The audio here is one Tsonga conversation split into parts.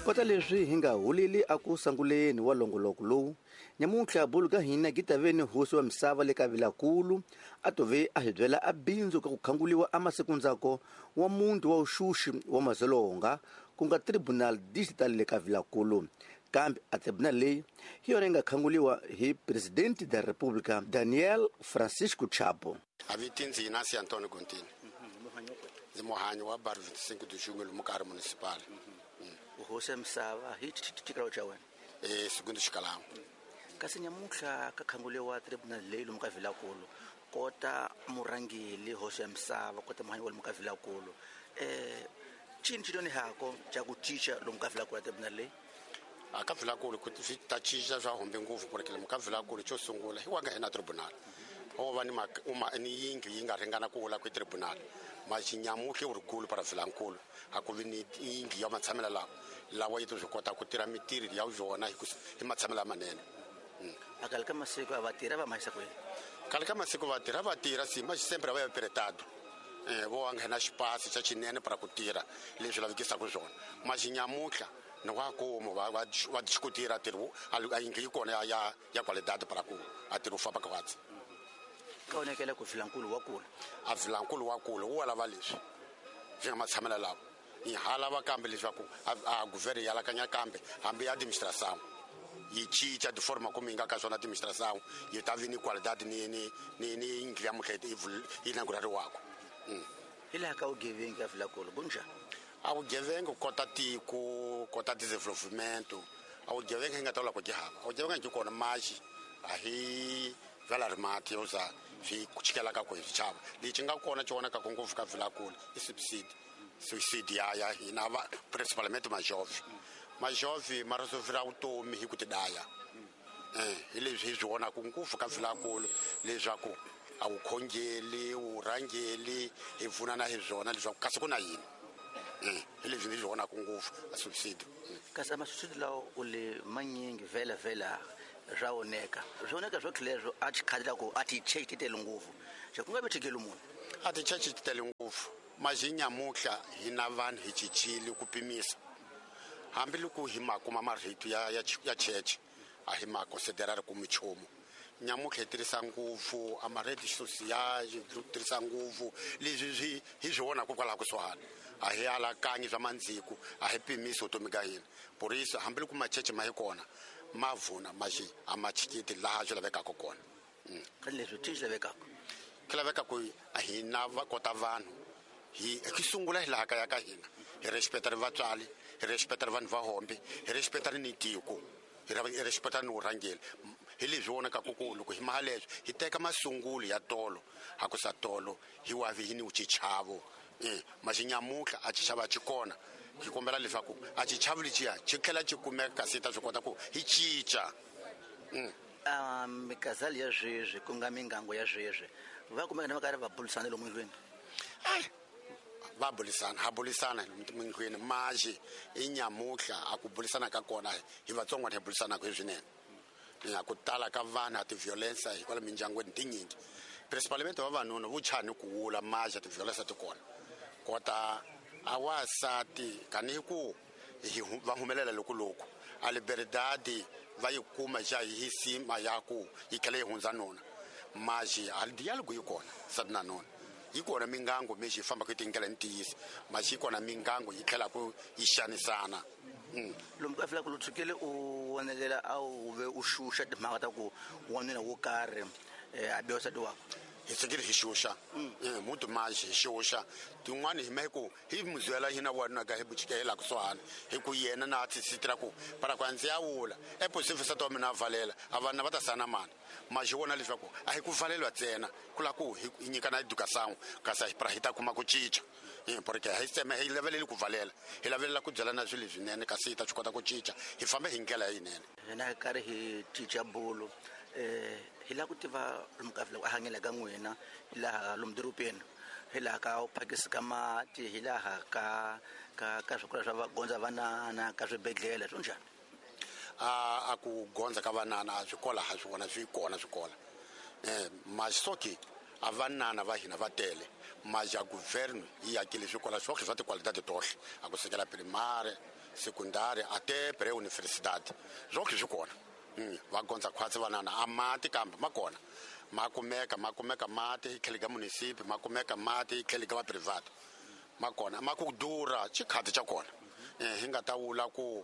Kota leswi hi nga huleli aku sanguleni wa longoloko lowu, nyamuntlha bulu ka hina gitaveni hosi wa misava le ka Vilakulu a tove a hi byela a bindzu ka ku khanguliwa a masikundzako wa muntu wa uxuxi wa mazolonga ku nga Tribunal Digital le ka Vilakulu. Kambe a tribunal leyi hi yona yi nga khanguliwa hi Presidente da República Daniel Francisco Chapo. Aviti ndzi Inácio Antônio Gontini. Ndzi muhanyi wa Bairro 25 de Junho lomu ka ri municipal. Hosi ya misava hi xikalo xa wena? Segundo xikalamu. Kasi nyamuntlha ka khanguliwa tribunal leyi lomu ka Vilakulu, kota murhangeli hosi ya misava, kota muhanyi wa lomu ka Vilakulu, cini xi hako xa ku cinca lomu ka Vilakulu ya tribunal leyi? A ka Vilakulu ku swi ta cinca swa humbe ngopfu, porque lomu ka Vilakulu xo sungula hi wa nga hina tribunal. O va ni ni yindlu yi nga ringana ku wula ku tribunal. Maxi nyamutlha wu ri kulu para Vilankulu, a ku vi ni yindlu ya matshamelo lawa, lawa yi to swi kota ku tirha mitirho ya yona hi matshamelo lamanene. A khale ka masiku a va tirha va mahisa kwini? Khale ka masiku va tirha va tirha si ma sempre va ya peretado. Vo va nghena xipasi xa xinene para ku tirha leswi lavekisaka swona. Maxi nyamutlha ni wa kuma va va discutir tirho a yindlu yi kona ya qualidade para ku a tirho famba ka watsi. Ka onekela ku Vilankulu wa kula. A Vilankulu wa kula wu lava leswi swi nga matshamelo lawa. Hi ha lava kambe leswaku a governo ya alakanya kambe hambi administração yi cinca de forma como yi nga ka swona administração yi ta vi ni qualidade ni yindlu ya mutlha yi inaugurariwaka. Hi laha ka vugevenga ka Vilakulu ku njhani? A vugevenga ku kota tiko, kota desenvolvimento. A vugevenga hi nga ta vula ku byi hava. A vugevenga byi kona maxi a hi vala ri mati yo za swi chikelaka ku hi swi chava. Lexi nga kona xi vonakaka ngopfu ka Vilakulu i subsidy. Suicide ya hina va principalmente majove. Majove ma resolvera vutomi hi ku tidaya. Hi leswi hi swi vonaka ngopfu ka Vilakulu leswaku a wu khongeli, wu rhangeli, hi pfunana hi swona leswaku kasi ku na yini. Hi leswi ni swi vonaka ngopfu a subsidy. Kasi a masubsidy lawa u le manyingi vhela vhela swa oneka. Swi oneka swo tlhela a xikhati la ku a ti check ti tele ngopfu. Xa ku nga vi thikeli munhu. A ti check ti tele ngopfu. Maxi nyamutlha hina vanhu hi cincile ku pimisa. Hambi loko hi ma kuma marito ya church a hi ma considera ri ku minchumu. Nyamutlha hi tirhisa ngopfu a marito social, hi tirhisa ngopfu leswi swi hi swi vonaka kwalaho kusuhani. A hi alakanyi swa mandziko, a hi pimisi vutomi ka hina. Por isso hambi loko macheche ma hi kona ma vuna maxi a ma chikiti laha swi lavekaka kona. Ka leswi swi lavekaka? Swi laveka ku hina va kota vanhu hi sungula hi laha kaya ka hina, hi respecta ri vatswari, hi respecta ri vanhu va hombe, hi respecta ri ni tiko, hi respecta ni vurhangeri. Hi leswi vonakaka ku loko hi maha leswi hi teka masungulo ya tolo, ha ku sa tolo hi wavi hi ni xichavo. Maxi nyamutlha a xichavo a xi kona. Hi kombela leswaku a xichavo lexiya xi tlhela xi kumeka kasi hi ta swi kota ku hi cinca. Mikazali ya sweswi ku nga mingango ya sweswi va kumeka na va karhi va bulisana lomu ndlwini? Ai, va bulisana, ha bulisana lomu ndlwini. Maxi i nyamutlha a ku bulisana ka kona hi vatsongo hi bulisanaka hi swinene. Ya ku tala ka vanhu a ti-violence hikwalaho mindyangwini tinyingi. Principalmente vavanuna vo chani ku wula maxi a ti-violence ti kona. Kota a wasati kani hi ku hi va humelela loko loko a liberdade va yi kuma xa hi sima ya ku yi tlhela yi hundza nuna. Maxi a dialogue yi kona sati na nuna. Yi kona mingango mexi yi fambaka hi tindlela ni ntiyiso. Maxi yi kona mingango yi tlhela ku yi xanisana. Lomu ka Vilakulu tshukele u vonelela a wu ve u xuxa timhaka ta ku wanuna wo karhi, a biwa nsati wakwe. Hi tshukile hi xuxa. Muti maxi hi xuxa. Tin'wani hi me ku hi muzwela hina wanuna ka hi buchikela kusuhani. Hi ku yena na tisitira ku para ku ndzi ya wula. E posifu nsati wa mina a valela, a vana va ta sana mani. Maxi vona leswaku a hi ku valelwa ntsena, ku lava ku hi nyikana education, kasi hi para hi ta kuma ku cinca. Porque hi tsema hi laveleli ku valela, hi lavelela ku byelana swilo leswinene kasi hi ta swi kota ku cinca, hi famba hi ndlela leyinene. Hina hi karhi hi cinca bulo, hi lava ku tiva lomu ka Vilakulu a hanyela ka n'wina, hi laha lomu dorobeni, hi laha ka phakisi ka mati, hi laha ka swikolo swa gondza vanana, ka swibedhlele, swo njhani? A ku gondza ka vanana swikolo ha swi vona swi kona swikolo. Masoki a vanana va hina va tele. Maja governo yi akile swikolo swohle swa tikwalidade tohle. A ku sukela primary, secundária até pré-universidade zonke swi kona. Va gondza khwatsi vanana a mati kambe ma kona ma kumeka mati hi tlhelo ka munisipi, ma kumeka mati hi tlhelo ka va private, ma kona ma ku durha xikhati xa kona. Hi nga ta vula ku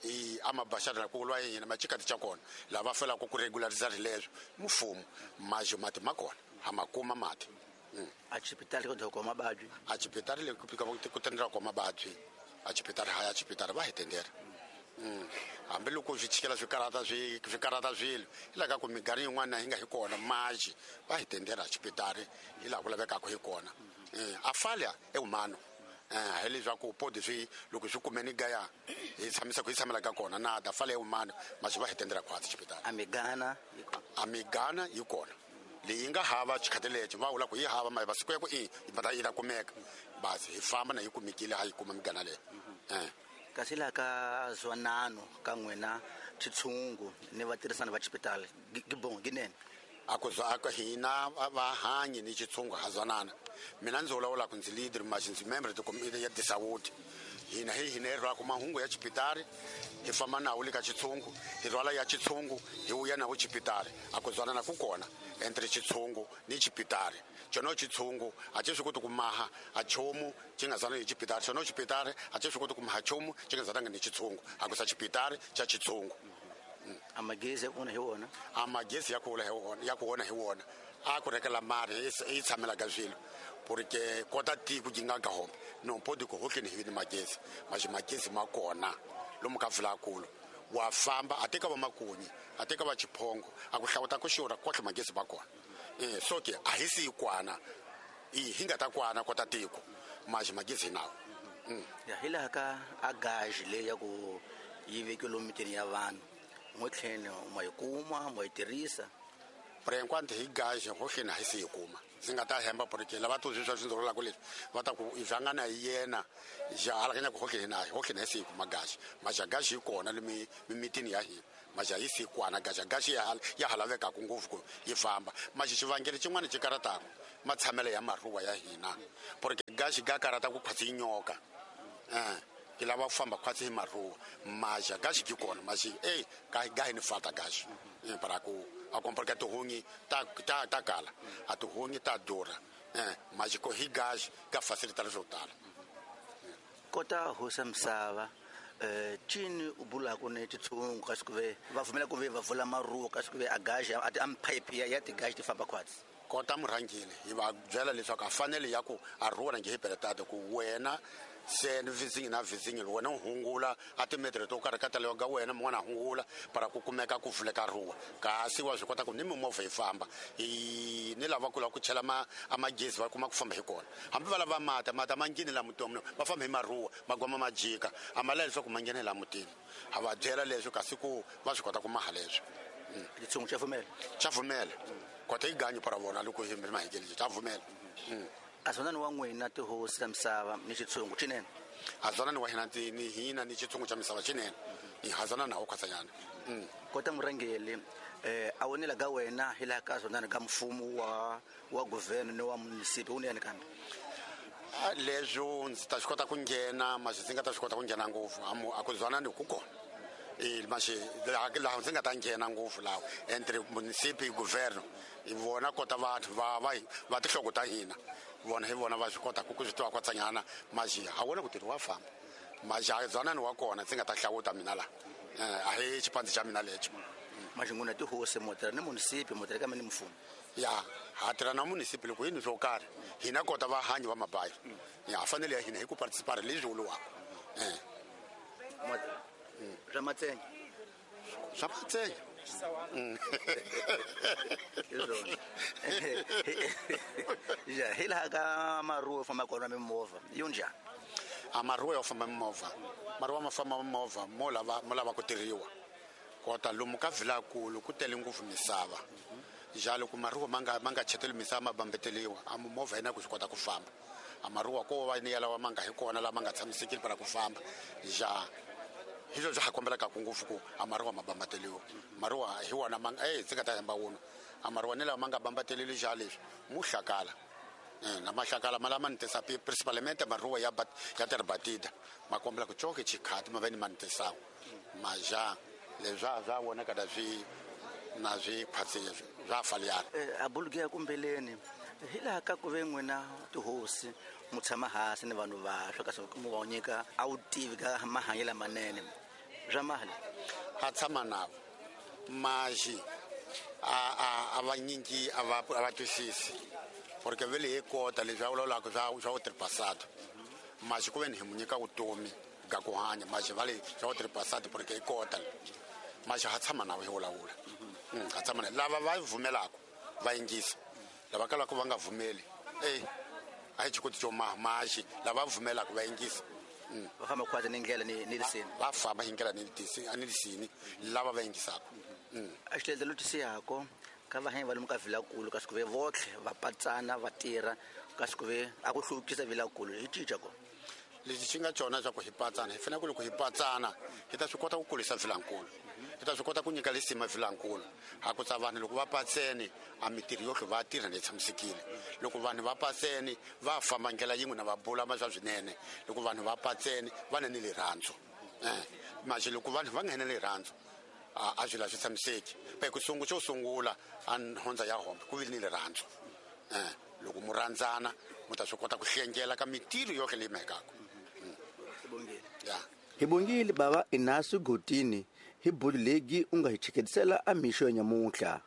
i amabaxana ku lwa yini ma xikhati xa kona lava felaka ku regulariza leswo mfumo majo mati ma kona ha ma kuma mati. A xipitali ko doko mabadyi a xipitali le ku tendera ko mabadyi a xipitali haya xipitali va hi tendera. Hambi loko swi chikela swi karata swi karata swilo hi laha ka ku minkarhi yin'wana hi nga hi kona maji va hi tendera xipitali hi laha ku lavekaka hi kona. A falha é humano. Hi leswaku podi swi loko swi kumeni gaya hi tshamisa ku hi tshamela ka kona na da falha é humano maji va hi tendera khwatsi xipitali. A migana yi kona leyi nga hava xikhati lexi va vula ku yi hava ma masiku ya ku i va ta yi ta kumeka basi hi famba na yi kumekile ha yi kuma migana leyi. Kasi laha ka zwanano ka n'wina xitshungu ni vatirhisani va xipitali gibongo ginene a ku za ka hina vahanyi ni xitshungu ha zwanana. Mina ndzi vulavula ku ndzi leader ma ndzi member de committee ya disawuti hina hi hina hi rhwala mahungu ya xipitali hi famba nawo le ka xitshungu hi rhwala ya xitshungu hi vuya nawo xipitali. A ku zwanana ku kona entre xitshungu ni xipitali. Xona xitshungu a xi swi koti ku maha a nchumu xi nga zwananga hi xipitali, xona xipitali a xi swi koti ku maha nchumu xi nga zwananga ni xitshungu. A ku sa xipitali xa xitshungu. A magezi ya ku hi wona a magezi ya ku hi wona ya ku wona hi wona a ku rekela mari yi tshamela ka swilo porque kota tiko yi nga ka home no pode ku hohleni hi ni magezi maji magezi ma kona lomu ka vulakulu wa famba a teka va makunyi a teka va chiphongo a ku hlawuta ku xurha kohle magezi ma kona. So ke a hi si kwana i hi nga ta kwana kota tiko maji magezi nawo. Ya hi laha ka a gaji leyi ya ku yi vekiwe lomu mitini ya vanhu n'we tlhelo ma yi kuma ma yi tirhisa por enquanto hi gaji hohleni a hi si yi kuma. Ndzi nga ta hemba porque lava to swi swa swi ndzi leswi va ta ku i hlangana hi yena ja alakanya ku hohleni na hohleni a hi si yi kuma gaji maja gaji yi kona le mimitini ya hina maja yi si kwana gaji gaji ya ha lavekaka ngopfu ku yi famba maji xivangelo xin'wana xi karataka matshamelo ya maruwa ya hina porque gaji ga karata ku khwatsi yi nyoka ki lava ku famba khwatsi hi maruwa maja gaji ki kona maji ga hi ni fata gaji para ku a comprar tihunyi ta ta ta kala a tihunyi ta durha maji ko hi gaji ka facilita swo tala. Kota hosa misava cini u bulaka ni titshungu kasi ku ve va pfumela ku ve va vula maruwa kasi ku ve a gaji a ti pipe ya tigaji ti famba khwatsi. Kota murhangeli hi va byela leswaku a fanele ya ku a ruwa na nge hi peletata ku wena se ni vizingi na vizingi wena u hungula a timetere to karhi ka talewa ka wena mun'wana a hungula para ku kumeka ku vuleka ruwa kasi wa swi kota ku ni mimovha yi famba hi ni lava ku lava ku chela a magezi va kuma ku famba hi kona hambi va lava mati mati a ma ngheni laha mutini va famba hi maruwa magwama ma jika a ma lavi leswaku ma nghena laha mutini ha va byela leswi kasi ku va swi kota ku maha leswi. Xitshungu xa pfumela xa pfumela kota yi ganyi para vona loko hi mahekeli xa pfumela. A zwanani wa n'wina tihosi ta misava ni xitshungu xinene a zwanani wa hina ni hina ni xitshungu xa misava xinene hi hazana nawo khwatsanyana. Kota murhangeli a wonela ka wena hi laha ka zwanani ka mfumo wa guvhene ni wa munisipi wunene kambe leswo ndzi ta swi kota ku nghena maxi ndzi nga ta swi kota ku nghena ngopfu a ku zwanani ku kona maxi laha ndzi nga ta nghena ngopfu laha entre munisipi governo hi vona kota vanhu va tinhloko ta hina vona hi vona va swi kota ku swi tiva kwatsanyana maxi ha wona ku tirhi wa famba maxi a zwanani wa kona ndzi nga ta hlawuta mina laha a hi xipandzi xa mina lexo. Maxi n'wina tihosi mo tirha ni munisipi mo tirha kambe ni mfumo ya ha tirha na munisipi loko yini swo karhi hina kota vahanyi va mabayi ya fanele ya hina hi ku participate leswi vuriwaka. Swa matsenya swa matsenya ya hi laha ka maruwa yo famba kona mimovha yo njhani? A maruwa yo famba mimovha maruwa ma famba mimovha mo lava ku tirhiwa kota lomu ka vilakulu ku tele ngopfu misava ja loko maruwa ma nga cheteli misava ma bambeteliwa a mimovha yina ku swi kota ku famba a maruwa ko va ni ya lawa ma nga hi kona lama nga tshamisekile para ku famba ja hi swo swi ha kombelaka ngopfu ku a maruwa ma bambateliwa maruwa hi wona ma ndzi nga ta hemba wona a maruwa ni lawa ma nga bambateleli ja leswi mu hlakala Na mahlakala malama ni tisa principalmente maruwa ya ya terbatida makombela ku choke chikhati maveni mantisawo maja leswa swa wona kada swi na swi phatsi swa faliyana. A buluge kumbeleni hilaha ka ku ve n'wina tihosi mu tshama hansi ni vanhu vaswa kasi mu va nyika a wu tivi ka mahanyelo lamanene swa mali ha tshama navo maxi a va nyingi a va twisisi porque vele hi kota leswi a vulavulaka swa utripasado maxi ku veni hi mu nyika vutomi ga ku hanya maxi va le swa utripasado porque hi kota maxi ha tshama navo hi vulavula. Ha tshama lava va vumelaka va yingisa lava kalaka va nga vumeli a hi xikoti xo maxi lava vumelaka va yingisa. Va famba khwazi ni ndlela ni lisini va famba hi ndlela ni lisini lava va yingisaka. A xilendlo twisiyako ka va hanya va lomu ka Vilakulu kasi ku ve votlhe va patsana va tirha kasi ku ve a ku hluvukisa Vilakulu hi cinca ko lexi xi nga cona swa ku hi patsana hi fanele ku loko hi patsana hi ta swi kota ku kulisa Vilankulu hi ta swi kota ku nyika lisima Vilankulu ha ku tsa vanhu loko va patsene a mitirho yohle va tirha ni tshamisekile loko vanhu va patsene va famba ndlela yin'we na va bula ma swa swinene loko vanhu va patsene va na ni rirhandzu maxi loko vanhu va nga na rirhandzu a swi la swi tshamiseki pa ku sungu xo sungula a nhondza ya hombe ku vi ni rirhandzu loko mu rhandzana mu ta swi kota ku hlengela ka mitirho yohle leyi mhekaka. Hi bongile bava Inasu Gotini hi bulu legi u nga hi chiketisela a mixo ya nyamuntlha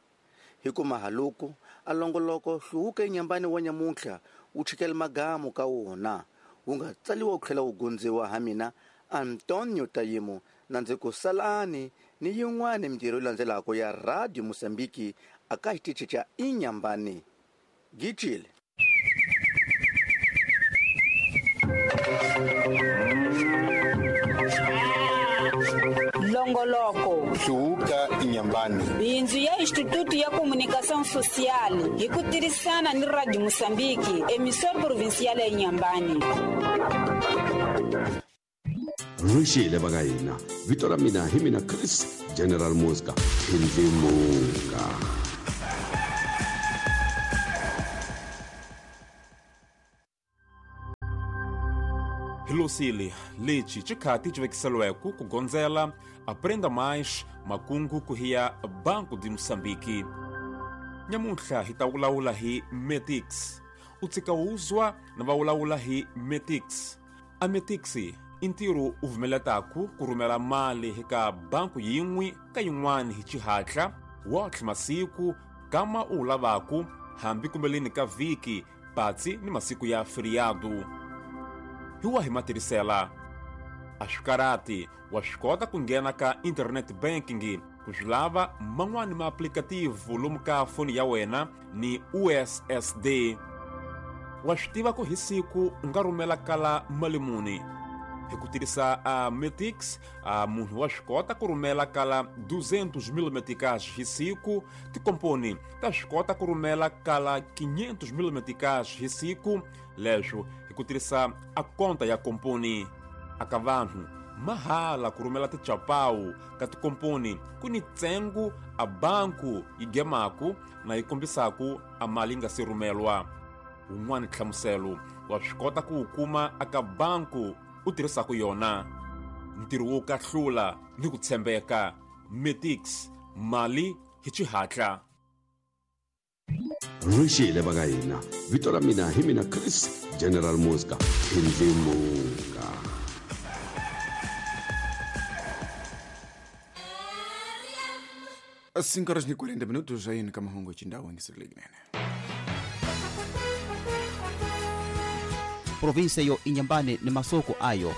hi kuma haluku a longoloko hluvuka enyambani wa nyamuntlha wu chikela magamu ka wona wu nga tsaliwa wu tlhela wu gundziwa ha mina Antonio Tayimo na ndzi ku salani ni yin'wana mintirho yi landzelaka ya Radio Mosambiki aka xitichi xa Inyambani. Gicile. Longoloko hluvuka Inyambani bindzu ya Instituto ya Comunicação Social hi ku tirhisana ni Radio Mosambiki emissora provincial ya Inyambani. Ruxile va ka hina vito ra mina hi mina Chris General Mosca Ndlimunga. Hilosile lexi xikhati xi vekiseliweke ku gondzela Aprenda Mais makungu ku hiya Banco de Moçambique. Nyamuntlha hi ta vulavula hi Metix. U tshika wuzwa na va vulavula hi Metix. A Metix i ntirho u vumeletaku ku rhumela mali eka banku yin'we ka yin'wana hi xihatla wotlhe masiku kama u lavaku hambi kumbeleni ka vhiki patsi ni masiku ya feriado. Hi wa hi matirhisela a swi karati wa swi kota ku nghena ka internet banking ku swi lava man'wani maaplikativu lomu ka foni ya wena ni USSD. Wa swi tiva ku hi siku u nga rhumela kala mali muni hi ku tirhisa a Metix. A munhu wa swi kota ku rhumela kala 200 mil meticais hi siku, tikomponi ta swi kota ku rhumela kala 500 mil meticais hi siku, leswo hi ku tirhisa a konta ya komponi. Aka vanhu mahala ku rhumela tichapawu ka tikomponi ku ni ntsengo a banku yi gemaku na yi kombisaku a mali yi nga se rhumelwa. Wun'wani nhlamuselo wa swi kota ku wu kuma aka banku u tirhisaka yona. Ntirho wo kahlula ni ku tshembeka. Metix, mali hi xihatla. Ruxile va ka hina vito ra mina hi mina Chris General Mosca Ndlimunga. Cinco horas e 40 minutos aí no Camahongo Chindau em Sirlignene. Província yo Inhambane ni masoko ayo.